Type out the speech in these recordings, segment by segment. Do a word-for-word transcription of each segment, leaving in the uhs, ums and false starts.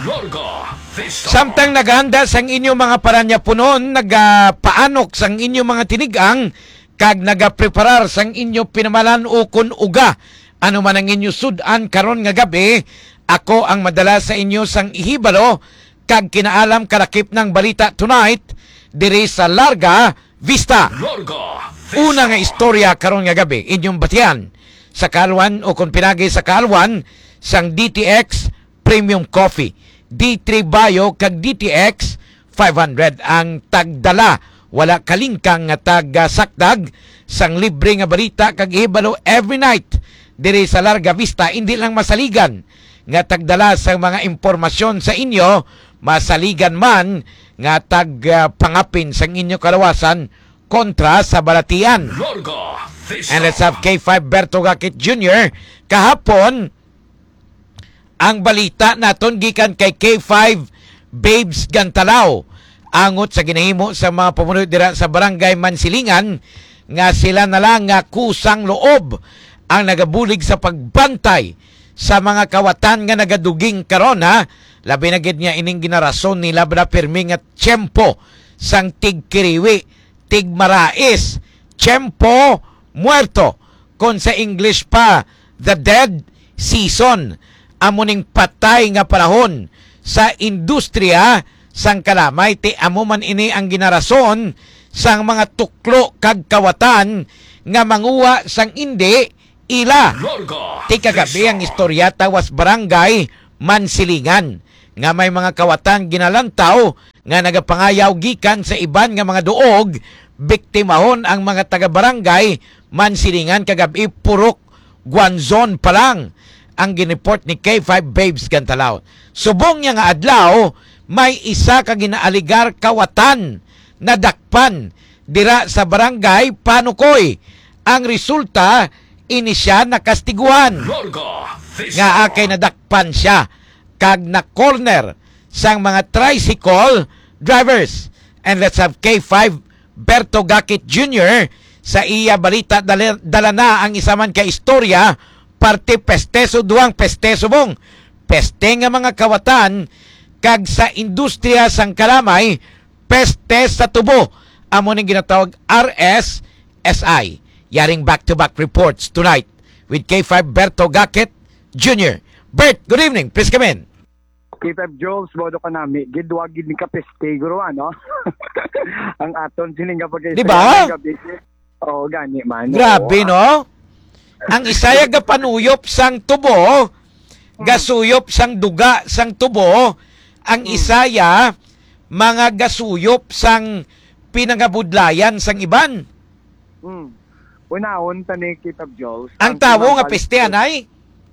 Larga Vista. Samtang naghanda sang inyo mga paranyapunon, nagapaanok sang inyo mga tinigang, kag nagapreparar sang inyo pinamalan ukon uga, ano man ang inyo sud-an karon nga gabi, ako ang madala sa inyo sang ihibalo kag kinaalam kalakip ng balita tonight diri sa Larga Vista. Larga Vista. Una nga istorya karon nga gabi, inyong batian sa kaalwan o kon pinagi sa kaalwan sang D T X Premium Coffee, D three Bio kag D T X five hundred ang tagdala. Wala kalingkang nga tagasakdag sang libre nga balita kag ihibalo every night diri sa Larga Vista. Hindi lang masaligan nga tagdala sang mga impormasyon sa inyo, masaligan man nga tagpangapin sang inyo kalawasan kontra sa balatian. Larga Vista. And let's have K five Berto Gakit Junior. Kahapon, ang balita naton gikan kay K five Babes Gantalaw, angot sa ginahimo sa mga pamuno dira sa Barangay Mansilingan, nga sila na lang nga kusang loob ang nagabulig sa pagbantay sa mga kawatan nga nagaduging karon, ha. Labi na gid nga ining ginarason nila bala pirmi nga tiyempo sang tigkiriwi, tigmarais, tiempo muerto, kon sa English pa, the dead season. Amo ning patay nga panahon sa industriya sang kalamay, ti amo man ini ang ginarason sang mga tuklo kag kawatan nga manguha sang indi ila. Larga Ti kagabi ang Vista. Istorya tawas Barangay Mansilingan nga may mga kawatan ginalantaw nga nagapangayaw gikan sa iban nga mga duog, biktimahon ang mga taga-barangay Mansilingan kagab-i, Purok Guanzon pa lang ang ginreport ni K five Babes Gantalaw. Subong niya nga adlaw, may isa ka ginaaligar kawatan nadakpan dira sa barangay Panukoy. Ang resulta, ini siya nakastiguhan. Larga Vista. Nga akay nadakpan siya kag na-corner sang mga tricycle drivers. And let's have K five Berto Gakit Junior sa iya balita. Dali-, dala na ang isa man ka istorya, parte peste, suduang peste, subong peste nga mga kawatan, kag sa industriya sang kalamay, peste sa tubo. Amo ning ginatawag R S S I. Yaring back-to-back reports tonight with K five Berto Gakit Junior. Bert, good evening. Please come in. K five Jones, bodo ka nami. Gidwa gid ni kapeste, guro, ano? Ang aton sining nga pag-, Di ba? Gabi. Oo, gani man. Grabe, Oo. No? Ang isaya gapanuyop sang tubo, Mm. gasuyop sang duga sang tubo, ang Mm. isaya mga gasuyop sang pinangabudlayan sang iban. Mm. Unahon ta ni K five Jones. Ang Ang tawo nga pinangabal-, peste, anay?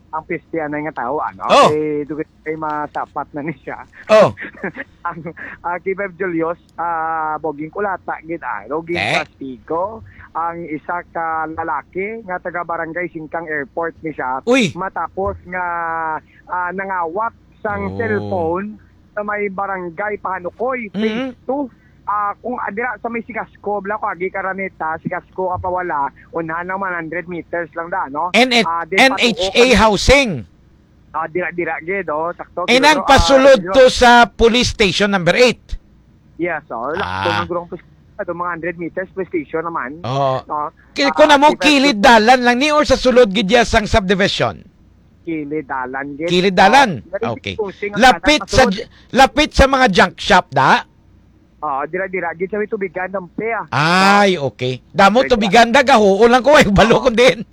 Ang peste, anay, nga tawo, ano? Oh. Eh, dugay kay masapat na ni siya. Oh. Ang, ah, K five Julius, ah, boging kulata gid, ah, roging Eh? kastigo ang isa ka lalaki nga taga Barangay Singkang Airport ni siya. Uy! Matapos nga, ah, nangawat sang Oh. cellphone sa may Barangay Pahanukoy, Phase Mm. two. Ah, kung, ah, dira sa may Sigasco, bala ko, agi ka Araneta, Sigasco ka pawala, unahan lang one hundred meters lang da, no? N H-, Ah, di N H A patuo ka. Housing. Ah, dira, dira gid, oh, sakto. Eh, Pero, nang ah, pasulod dira to sa police station number eight. Yes, oh, lakto Ah. ng gurong pis-, ato, mga hundred meters, police station naman. Oo. No? Ki-, Ah, kung amo, kita kilid dalan lang ni or sa sulod gid ya sang subdivision? Kilid dalan gid. Kilid dalan? Oh, very Okay. confusing ang Lapit kanan sa pasulod. j-, lapit sa mga junk shop, da? Oo, dira-dira gid sa may tubigan ng Pea. Ay, okay. Damo Dira-dira. tubigan, da, gahuo lang ko, eh, balo Oo. ko din.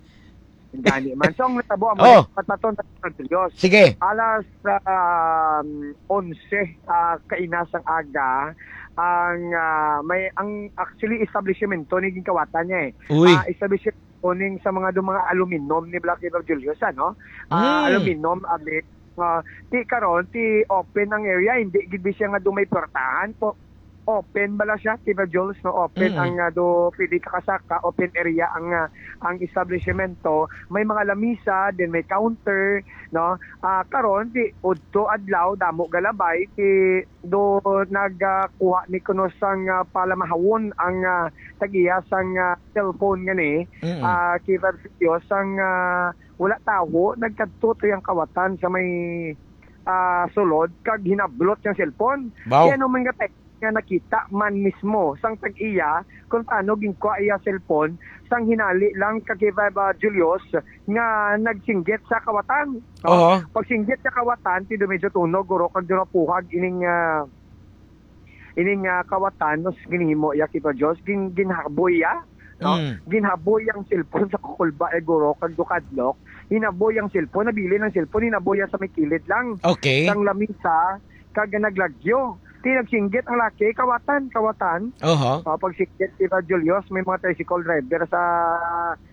Gani man. So, ang natabo, ang Oh. mga pataton sa San Julius. Sige. Alas, um, onse, ah, kaina sang aga, ang, ah, may, ang, actually, establishmento ni ginkawatan niya, eh. Uy. Ah, establishmento ning sa mga, do mga aluminum ni Black River Julius, ano? Ah, Mm. aluminum, abi, ah, ti karon, ti open ang area, hindi gid siya nga do may portahan po. Open bala siya, Tina Jules, no? Open Mm. ang, ah, do pwede ka kasaka, open area ang, ah, ang establishmento. May mga lamisa, then may counter, no? Ah, karon, ti udto adlaw, damo galabay, ti do nagkuha ni kuno sang, ah, palamahawon ang, ah, tag-iya sang, ah, cellphone nga ni, Mm. ah, Tina Jules, sang, ah, wala tawo, nagkadto to yang kawatan sa may ah, sulod kag hinablot ang cellphone. Wow. Kaya naman nga nga nakita man mismo sang tag-iya kung paano ginkuha iya cellphone, sang hinali lang kag kay Viva Julius nga nagsinggit sa kawatan, no? Oho. Pagsinggit sa kawatan, ti do medyo tunog, guro, kag do napuhag ining, ah, ining, ah, kawatan, nos ginhimo iya, Kipa Diyos, gin-, ginhaboy iya, no? Mm. Ginhaboy ang cellphone sa kukulba, eh, guro, kag do kadlok. Hinaboy ang cellphone, nabilin ang cellphone, hinaboy iya sa may kilid lang. Okay. Sang lamisa, kag naglagyo. Ti nagsinggit ang laki, kawatan, kawatan. Oho. Ah, pagsinggit, Kipa Julius, may mga tricycle driver sa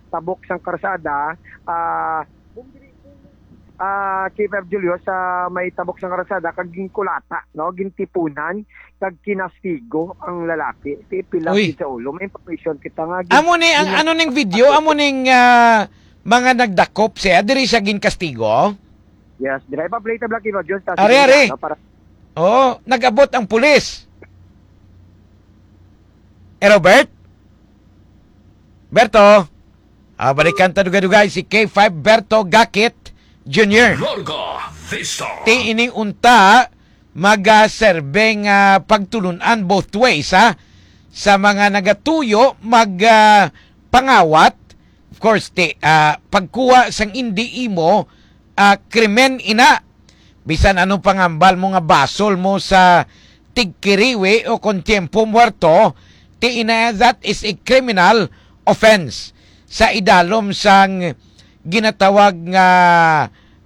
tabok sang karsada, ah, ah, Kipa Julius, sa may tabok sang karsada, kag ginkulata, no? Gintipunan, kag kinastigo ang lalaki. Ti pila Uy. Sa ulo. May information kita nga gin-, Amo ni ang gin-, ano ning video, amo ning, ah, mga nagdakop siya, diri siya ginkastigo? Yes, dira ipa-play ta, Black Hero Jones, ta Are, sige are. Na, para Oh, nag-abot ang pulis. Eh, Robert? Berto? Ah, balikan ta dugay-dugay si K five Berto Gakit Junior. Larga Vista. Ti ini unta, mag, ah, serbeng, ah, pagtulun-an both ways, ha? Sa mga nagatuyo, mag, ah, pangawat. Of course, ti, ah, pagkuha sang indi imo, ah, krimen ina. Bisan ano pang hambal mo nga basol mo sa tigkiriwi o kon tiyempo muerto, ti ina, that is a criminal offense sa idalom sang ginatawag nga,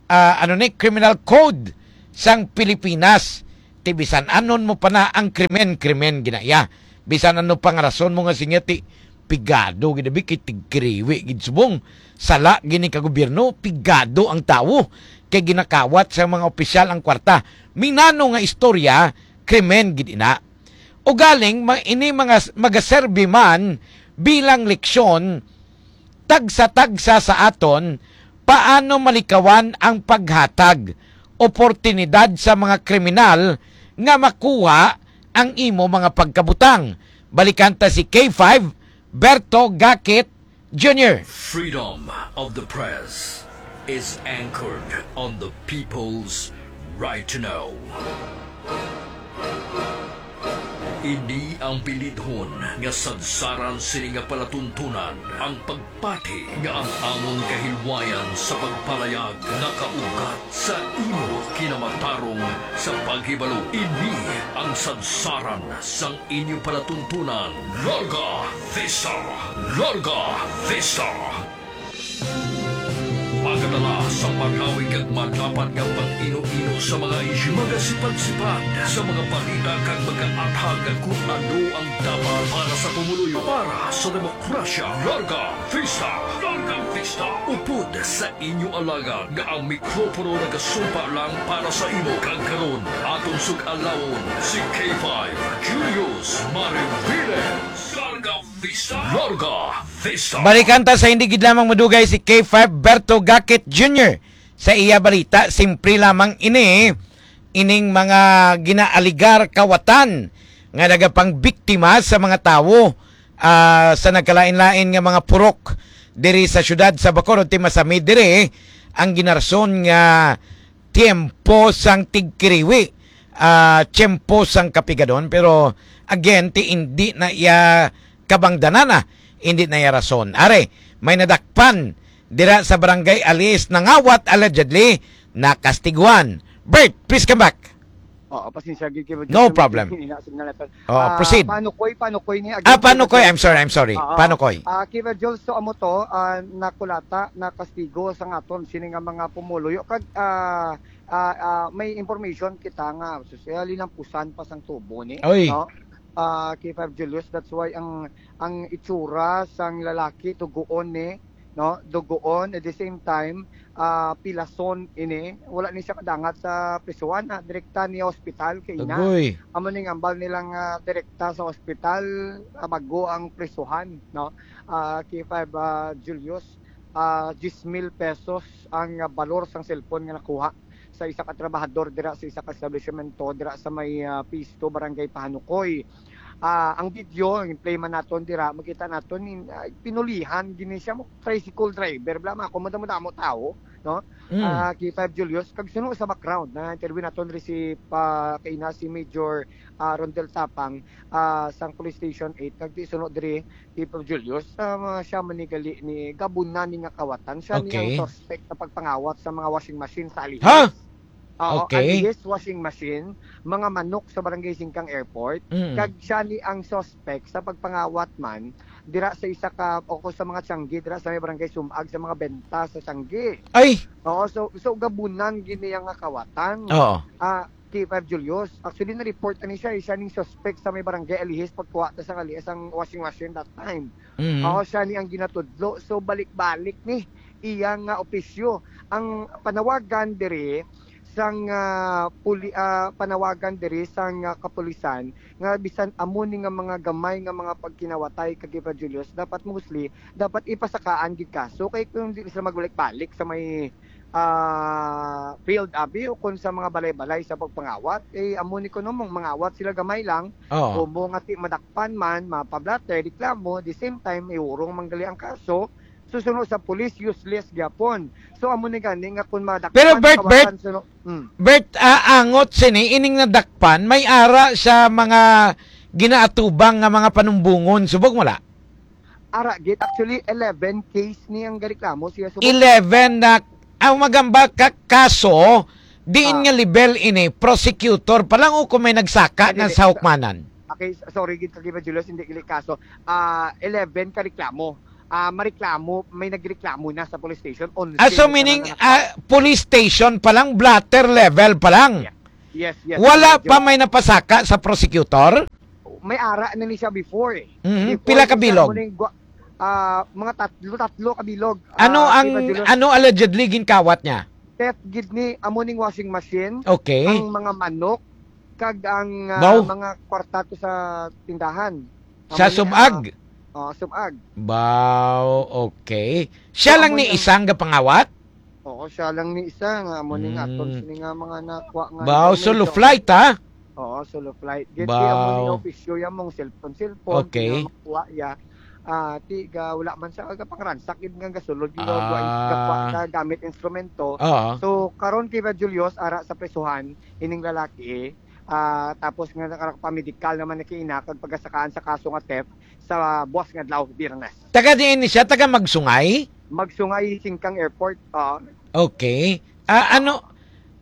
ah, ano ni, criminal code sang Pilipinas. Ti bisan anon mo pa na ang krimen, krimen gina iya. Bisan ano pang rason mo nga sinya ti pigado gid abi kay tigkiriwi gid subong. Sala gini ka gobyerno, pigado ang tawo kay ginakawat sa mga opisyal ang kwarta. Minano nga istorya, krimen gid ina. Ugaling ma-, ini mga s-, magaserbi man bilang leksyon tagsa-tagsa sa aton paano malikawan ang paghatag oportunidad sa mga kriminal nga makuha ang imo mga pagkabutang. Balikan ta si K five, Berto Gakit Junior. Freedom of the press is anchored on the people's right to know. Ini ang bilidhon nga sadsaran sini nga palatuntunan, ang pagpati nga ang amon kahilwayan sa pagpalayag nakaugat sa imo kinamatarong sa paghibalo. Ini ang sadsaran sang inyo palatuntunan. Larga Vista! Larga Vista! Magadala sa malawig kag malapad nga pag-ino-ino sa mga isyu, magasipad-sipad sa mga balita kag magaathag kung ano ang dapat para sa pumuluyo, para sa demokrasya. Larga Vista! Larga Vista! Upod sa inyo alagad nga ang mikropono nagasumpa lang para sa imo, kag karon aton sug-alawon si K five Julius Mariviles. Larga Vista. Larga Vista. Balikan ta sa hindi gid lamang madugay si K five Berto Gakit Junior sa iya balita. Simple lamang ini, ining mga ginaaligar kawatan nga nagapangbiktima sa mga tawo, ah, sa nagkalain-lain nga mga purok diri sa siyudad sa Bacolod. Ti masamid diri ang ginarson nga tiyempo sang tigkiriwi, ah, tiyempo sang kapigadon, pero again, ti indi na iya kabangdanan, ah, indi na iya rason. Are, may nadakpan dira sa Barangay Alis, nangawat, allegedly nakastiguan. Bert, please come back. Oo, pasensya gid kay No Jose, problem. May signal natin. Oh, Ah, proceed. Panukoy, panukoy ni Ah, again, Panukoy, Jose. I'm sorry, I'm sorry. Oo. Panukoy. Ah, Kiver Jules, so amo to, ah, nakulata, nakastigo sa aton sini nga mga pumuluyo kag, ah, ah, ah, may information kita nga, sus, eh, linampusan pa sang tubo ni, Oy. no? Ah, Kiver Julius, that's why ang, ang itsura sang lalaki dugoon ni, no? Dugoon, at the same time, ah, pilason ini. Wala ni siya kadangat sa prisuhan, ah, direkta ni hospital kay ina. Agoy. Amo ning ambal nilang, ah, direkta sa ospital, ah, bago ang prisuhan, no? Ah, K five, ah, Julius, ah, diyes mil pesos ang, ah, balor sang cellphone nga nakuha sa isa ka trabahador dira sa isa ka establishmento dira sa may, ah, Phase two, Barangay Pahanukoy. Ah, ang video, ang play man naton dira, makita naton in, ah, pinulihan gini siya mo tricycle driver, bla, mga kumanda mo damo tao. no? Mm. Ah, K five Julius, kag suno sa background, na-interview naton diri si, pa, kaina si Major, ah, Rondel Tapang, ah, sang Police Station eight, kag ti suno diri, K five Julius, ah, siya man ni gali ni gabunan ni nga kawatan, siya ni ang Okay. suspect sa pagpangawat sa mga washing machine sa Alihis. Ha? Oo, Okay. Alihis washing machine, mga manok sa Barangay Singkang Airport, Mm. kag siya ni ang suspect sa pagpangawat man dira sa isa ka, o ko sa mga tiyanggi, dira sa may Barangay Sumag, sa mga benta sa tiyanggi. Ay! Oo, so, so gabunan gini nga kawatan. Oo. Ah, K five Julius, actually, na-report na ni siya, eh, siya ning suspect sa may Barangay Alihis, pagkuha ta sa Alihis ang washing machine that time. Mm. Oo, siya ni ang ginatudlo. So, balik-balik ni iya nga opisyo. Ang panawagan diri sang, ah, puli-, ah, panawagan diri sang, ah, kapulisan nga bisan amo ni nga mga gamay nga mga pagkinawatay kag Eva Julius, dapat mostly, dapat ipasakaan gid kaso kay kung di sila magbalik-balik sa may, ah, field abi o kung sa mga balay-balay sa pagpangawat, eh, amo ni kuno mong mangawat sila gamay lang, Oo. o mo nga ti madakpan man, mapablatter, reklamo, the same time, iurong man gali ang kaso, susuno sa pulis, useless gyapon. So, amo ni gani nga kung madakpan, Pero, Bert, Bert, kawasan, suno-, mm. Bert, ah, angot sini, ining nadakpan, may ara sa mga ginaatubang nga mga panumbungon. Subok mo la? Ara, gid, actually, eleven case ni ang gareklamo siya. Subok. Eleven na, ang magamba ka, kaso, diin Ah. nga level ini, prosecutor pa lang o kung may nagsaka Hindi, na hindi. sa hukmanan? Okay, s-, sorry, gid, Kagiba Julius, hindi gili kaso. Ah, eleven ka reklamo. Ah, mareklamo, may nagreklamo na sa police station. Onse Ah, so na meaning, naman ang ah, police station pa lang, blotter level pa lang? Yeah. Yes, yes, Wala medyo pa may napasaka sa prosecutor? May ara na ni siya before, eh. Mhm. Before Pila ka ni siya bilog? mo ning gwa-, ah, mga tatlo, tatlo ka bilog. Ano Ah, ang, Kagiba Julius. ano allegedly ginkawat niya? Theft gid ni, amo ning washing machine, Okay. ang mga manok, kag ang, ah, Wow. mga kwarta to sa tindahan. Sa Amo ni, Sumag? ah, oh, Sumag. Wow, okay. Siya So, lang amo ni ni ang isang gapangawat? Oo, siya lang ni isa nga amo ni nga aton Mm. sini nga mga nakuha nga Wow, solo information. flight, ha? Oo, solo flight. Gid, di amo ni Wow. opisyo ya mong cellphone, cellphone, Okay. di nga makuha ya. Ah, ti ga, wala man siya, ga pangransak gid nga gasulod, gid Ah. gakuha sa gamit instrumento. Oo. So, karon kay Julius, ara sa presuhan, ining lalaki, ah, tapos nga nakapamedikal naman na kiina, kag pagasakaan sa kaso nga theft, sa buwas nga adlaw, Biyernes. Taga diin ni siya? Taga Magsungay? Magsungay, Singkang Airport, oo. Okay. Ah, ano,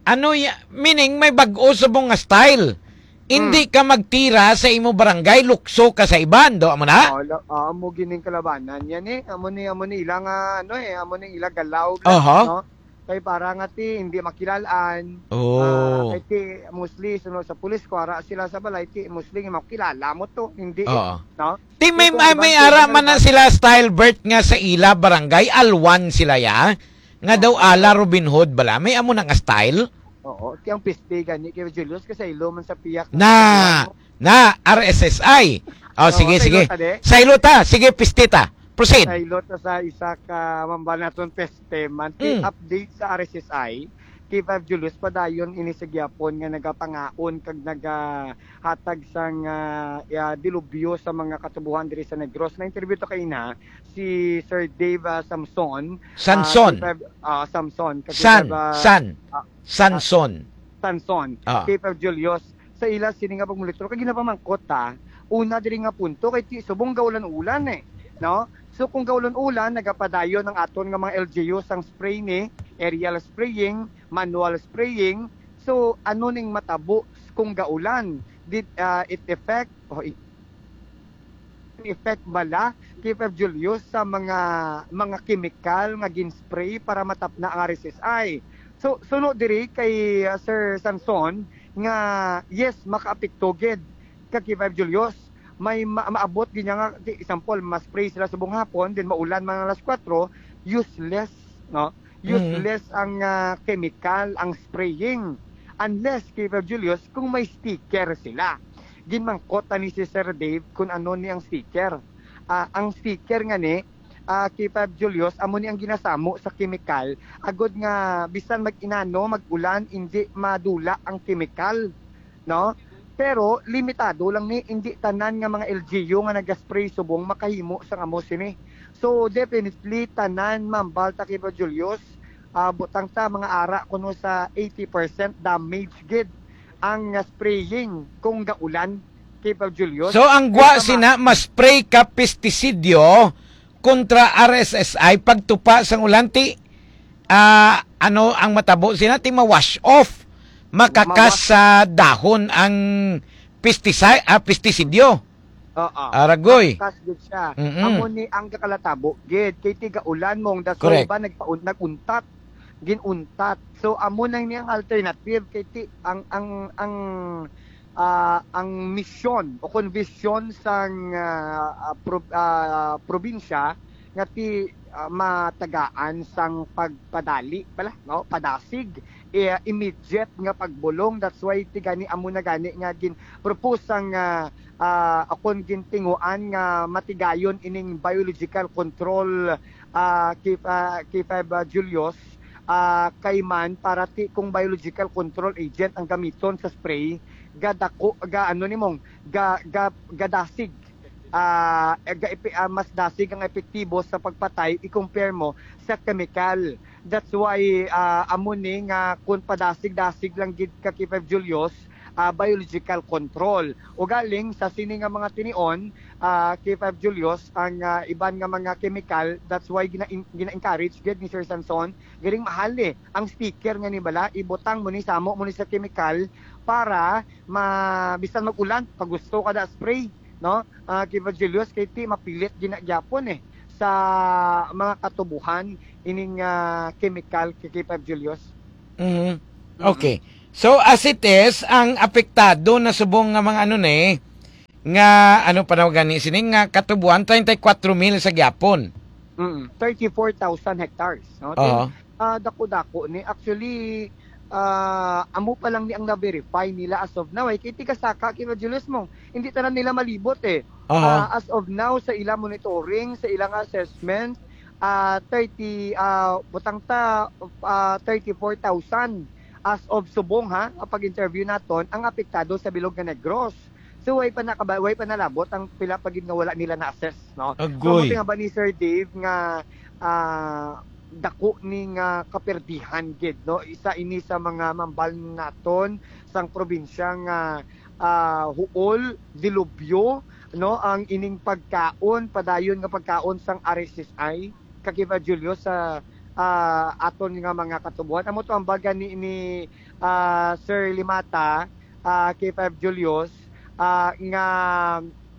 ano ya-, meaning may bag-o subong nga style. Hindi Hmm. ka magtira sa imo barangay, lukso ka sa iban, do, amo na? Oo, lo-, oo, amo gining kalabanan. Yan eh, amo ni, amo ni ila nga, ano eh, amo ni ila galaw lang, Aha. no? Kay para nga ti, hindi makilalaan. Oh. Ah, kay ti, mostly, sunod sa pulis, kung ara sila sa balay, ti, mostly, makilala mo to, hindi, Oo. no? Ti, may, Kung may, iban may sila ara man na naman. sila style, Bert, nga sa ila barangay, alwan sila, ya? Nga daw Oo. ala Robin Hood bala. May amo na nga style? Oo, ti ang piste gani kay Julius, kasaylo man sa piyak. Na, na, R S S I. Oh, Oo, sige, sige. Saylo ta, de. Saylo ta. Sige, piste ta. Proceed. Saylo ta sa isa ka mambal naton peste man. Ti Mm. update sa R S S I, kay Five Julius, padayon ini sa gyapon nga nagapangaon kag nagahatag sang, ah, ah, dilubyo sa mga katubuhan diri sa Negros. Na-interview to kaina si Sir Dave, ah, Samson. Samson. Ah, kay Five, ah, Samson. Kay San, Five, ah, San. ah, Samson. Samson. Ah. Kay Five Julius, sa ila sini nga pagmonitor, kay ginapamangkot ta, una diri nga punto, kay ti subong gaulan-ulan eh, no? So kung gaulan-ulan, nagapadayon ang aton nga mga L G U sang spray ni, aerial spraying, manual spraying. So ano ning matabo kung gaulan? Did, ah, it affect, o i-, effect bala kay Five Julius sa mga, mga kemikal nga gin-spray para matapna ang R S S I? So, suno diri kay, uh, Sir Samson nga, yes, makaapekto gid kag kay Five Julius. May ma-, maabot gid niya nga, di, example, ma-spray sila subong hapon, then maulan man alas kuwatro, useless, no? Mm. Useless ang, ah, chemical, ang spraying. Unless, kay Five Julius, kung may sticker sila. Ginmangkot ani si Sir Dave kung ano ni ang sticker. Ah, ang sticker nga ni, ah, kay Five Julius, amo ni ang ginasamo sa chemical, agod nga bisan mag-inano, mag-ulan, indi madula ang chemical, no? Pero limitado lang ni, indi tanan nga mga L G U nga nagaspray subong makahimo sang amo sini. So, definitely, tanan, Ma'am Balta, kay Five Julius, ah, butang ta mga ara kuno sa eighty percent damage gid ang, ah, spraying kung gaulan, K five Julius. So ang gwa sina ma-spray ka pestisidyo kontra R S S I pagtupa sang ulan ti, ah, ano ang matabo sina ti ma-wash off, makakas sa dahon ang pesticide, ah, pestisidyo. Oo. Aragoy. Kas gid siya. Mm-mm. Amo ni ang gakalatabo gid kay tiga ulan mong daso Correct. Ba nagpaun naguntat, ginuntat. So amo nang ni ang alternative kay ti ang ang ang ah, ang misyon o kon vision sang ah, ah, prob- ah, probinsya nga ti ah, matagaan sang pagpadali pala, no, padasig, eh, immediate nga pagbulong. That's why ti gani amo na gani nga gin propose sang ah, ah, akon gintinguan nga matigayon ining biological control, ah, K, ah, K five, ah, Julius, ah, kay man para ti kung biological control agent ang gamiton sa spray, gadako ga ano nimong ga, ga gadasig, ah, ga epi, ah, mas dasig ang epektibo sa pagpatay i-compare mo sa chemical. That's why ah, amo ni nga kun padasig-dasig lang gid ka K five Julius, ah, biological control. Ugaling sa sini nga mga tinion, ah, K five Julius, ang ah, iban nga mga chemical, that's why gina gina-encourage gid ni Sir Sanson, galing mahal eh. Ang sticker nga ni bala, ibutang mo ni, samo mo ni sa chemical para ma bisan mag-ulan, pag gusto ka na spray, no? Ah, K five Julius, kay ti mapilit ginagyapon eh sa mga katubuhan ining ah, chemical kay K five Julius. Mhm. Okay. So as it is, ang apektado na subong nga mga ano ni nga ano pa daw gani sini nga katubuan treinta y cuatro mil sa gyapon. Mm, thirty-four thousand hectares, no? Oo. Ah, dako-dako ni actually ah, amo pa lang ni ang na-verify nila as of now. Eh, kay tiga saka kay Julius mo, hindi tanan nila malibot eh. Aha. Ah, as of now, sa ilang monitoring, sa ilang assessment, ah, thirty, ah, butang ta, ah, thirty-four thousand as of subong ha, ang pag-interview naton, ang apektado sa bilog nga Negros. So, way pa nakaba, way pa nalabot ang pila pa gid nga wala nila na-assess, no? So, Agoy. Amo nga ba ni Sir Dave nga ah, dako ni nga kaperdihan gid, no? Isa ini sa mga mambal naton sang probinsya nga ah, huol, dilubyo, no? Ang ining pagkaon, padayon nga pagkaon sang R S S I, kakiba Julio sa ah, aton nga mga katubuhan. Amo to ang baga ni, ni ah, Sir Limata, ah, K five Julius, ah, nga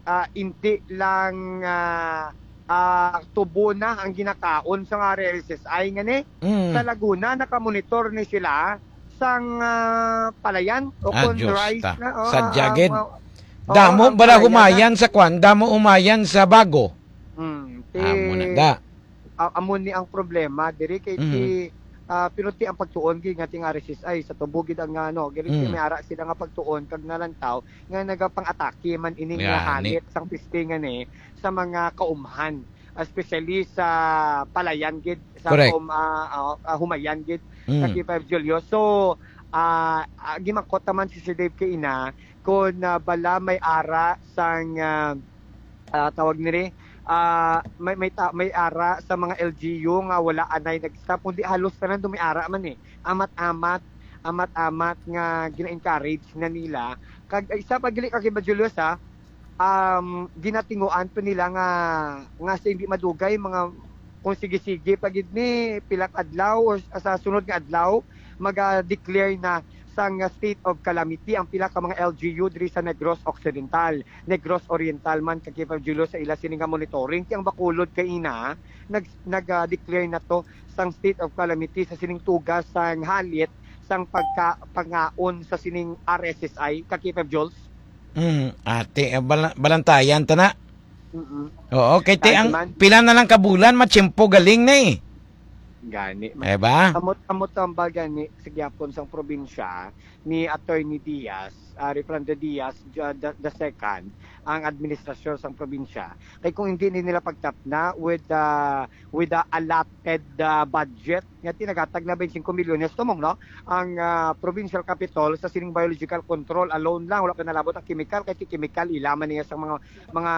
ah, hindi lang ah, ah, tubo na ang ginakaon sa nga R S S I nga ni Mm. Sa Laguna nakamonitor ni sila sang ah, palayan o Ah, kung Diyos rice ta. na. Oh, Sadya ah, gid. ah, oh, Damo ang bala palayan humayan na. Sa kwan, damo humayan sa Bago. Hmm, ti, Amo na da. ah, amo ni ang problema diri kay Mhm. ti ah, pero ti ang pagtuon gid nga ting R S S I sa tubo gid ang ano, gid Mm. may ara sila nga pagtuon kag nalantaw nga nagapang-atake man ini nga Gani. Halit sang piste nga ni sa mga kaumhan, especially sa palayan gid sa Correct. kaum, ah, ah, ah, humayan gid sa Mm. K five Julio. So, ah, ah, gimangkot naman si Sir Dave kay ina kung ah, bala may ara sang ah, ah, tawag niri ah, may may ta, may ara sa mga L G U nga wala anay nag-stop kundi halos tanan do may ara man eh. Amat-amat, amat-amat nga gina-encourage na nila. Kag isa pa gili ka kay Julius ha, um, ginatinguan pa nila nga nga sa hindi madugay mga kung sige-sige pa gid ni pila ka adlaw or sa sunod nga adlaw maga-declare na sang state of calamity ang pila ka mga L G U diri sa Negros Occidental, Negros Oriental man kag K five Julius sa ila sini nga monitoring. Ti ang Bacolod kay ina nag nag-declare na to sang state of calamity sa sining tugas sang Halit sang pagka pangaon sa sining R S S I kag K five Jules. Mm, ate, eh, bala- balantayan ta na. Mm-mm. Oo, kay ti Kay ang man. Pila na lang ka bulan matiyempo galing na eh. Gani. Eh ba? Amot amot ang baga ni sa gyapon sang probinsya ni Attorney Diaz, ah, Refrando Diaz uh, the, the second, ang administrasyon sang probinsya. Kay kung hindi ni nila pagtapna with uh, with the allotted uh, budget nga tinagatag na twenty-five milyones tumong no ang ah, provincial capitol sa sining biological control alone lang, wala pa nalabot ang chemical kay ti chemical ila man niya sa mga mga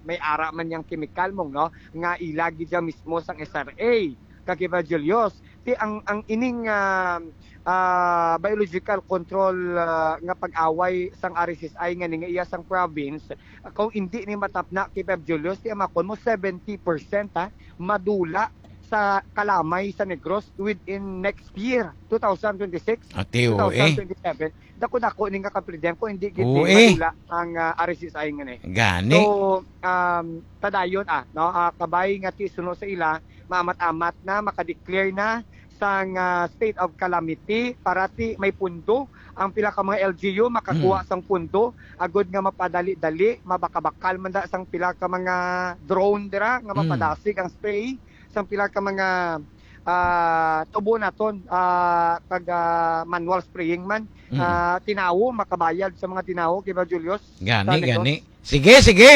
may ara man yang chemical mong no nga ila gid siya mismo sang S R A kag Evangelio Ti ang, ang ining, ah, ah, biological control, ah, nga pag-away sang R S S I nga ni nga iya sang province, kung indi ni matapna kay Feb Julius, ti amakon mo seventy percent, ha, madula sa kalamay sa Negros within next year, two thousand twenty-six, Ate, oo, eh. two thousand twenty-seven. Dako-dako ni nga kapridem kung hindi gid Oo, ni eh. madula ang, ah, R S S I nga ni. Gani. So, um, padayon, ah, no, ah, kabay nga ti suno sa ila, maamat-amat na, makadeclare na sang, ah, state of calamity para ti may pundo ang pila ka mga L G U makakuha Mm. sang pundo agud nga mapadali-dali, mabakabakal man da sang pila ka mga drone dira nga Mm. mapadasig ang spray sang pila ka mga, ah, tubo naton, ah, kag, ah, manual spraying man. Mm. Ah, tinawo, makabayad sa mga tinawo, kay ba, Julius? Gani, Sa Negros? gani. Sige, sige.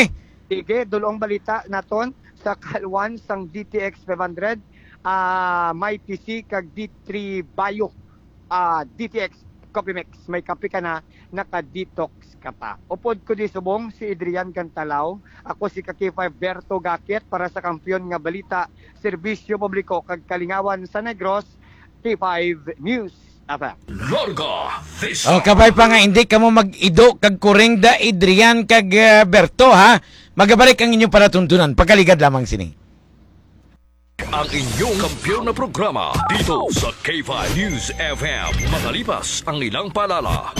Sige, dulong balita naton sa kalwan sang D T X five hundred, ah, may P C kag D three Bio, ah, D T X Coffee Mix. May kape ka na, naka-detox ka pa. Upod ko di subong si Adrian Cantalaw. Ako si ka K five Berto Gakit para sa Kampiyon nga Balita, Serbisyo Publiko kag Kalingawan sa Negros, K five News F M. Larga Vista. O, kabay pa nga, hindi ka mo mag-ido kag kurengda, Adrian kag, eh, Berto, ha? Magabalik ang inyong palatuntunan. Pagkaligad lamang sini. Ang inyong kampiyon na programa dito sa K five News F M. Makalipas ang ilang paalala.